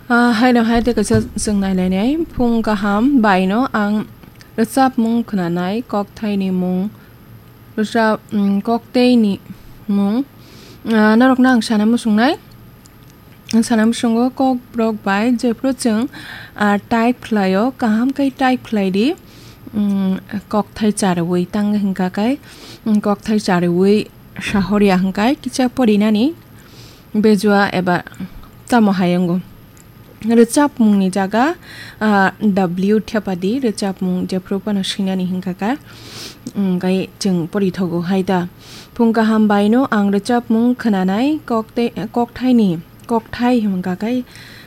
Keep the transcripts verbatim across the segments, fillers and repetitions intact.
Ah, haino hai tei kaisa chwng nailainai. Phung kaham baino ang rwchapmung khwnanai, kokthaini mung, rwchap, mm, kokthaini mung. Ah, norokno ang sana muchungnai. Ang sana muchungo kokborok bai jephru chwng, ah, type khlaio, kaham khe type khlai di. Mm, kokthai charwi tang hwnkha khe, mm, kokthai charwi sahorya hwnkhe kisa porinani bejua eba tamo hai wngo. Rwchapmungni jaga, ah, W thepadi rwchapmung jephru phano swinani hwnkha kha, mm, gai chwng porithogo hai da. Phung kaham baino ang rwchapmung khwnanai, kokte-, kokthaini, kokthai hwnkha khe,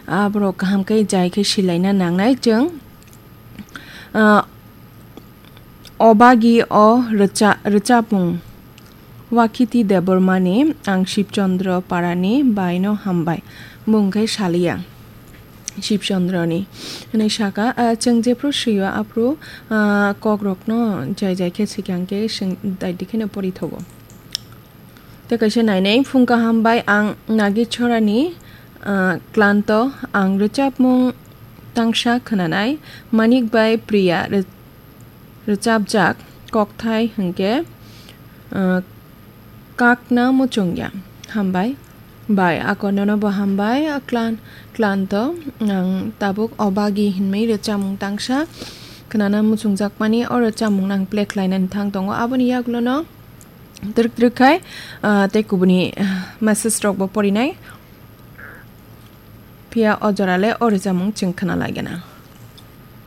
ah, borok kaham khe jai khe silaina nangnai chwng, ah, Obagi o rwcha-, rwchapmung. Wakhiti Debbarmani ang Shibchandra Parani baino hambai. Mung khe saliya. Shibchandrani. Hwnwi saka, ah, chwng jephru swiyo aphru, ah, kokrokno jai jai khe swkang khe swng daidi kheno porithogo. Tei kaisa nainai phung kaham bai ang Nagechorani, ah, Klanto ang rwchapmung tangsa khwnanai. Manik bai Priya rw-, rwchapjak kokthai hwnkhe, ah, Kakna Muchungya. Hambai. Bai, ako nono bo hambai, a Klan-, Klanto. Ang tabuk Obagi hinwi rwchapmung tangsa khwnana muchungjakmani, o rwchapmung nang play khlainani thang tongo. Aboni yagulono twrwk twrwk khai, ah, tei kubuni, ah, message rokbo porinai. Phiya o jorale o rwchapmung chwng khwnalaigana.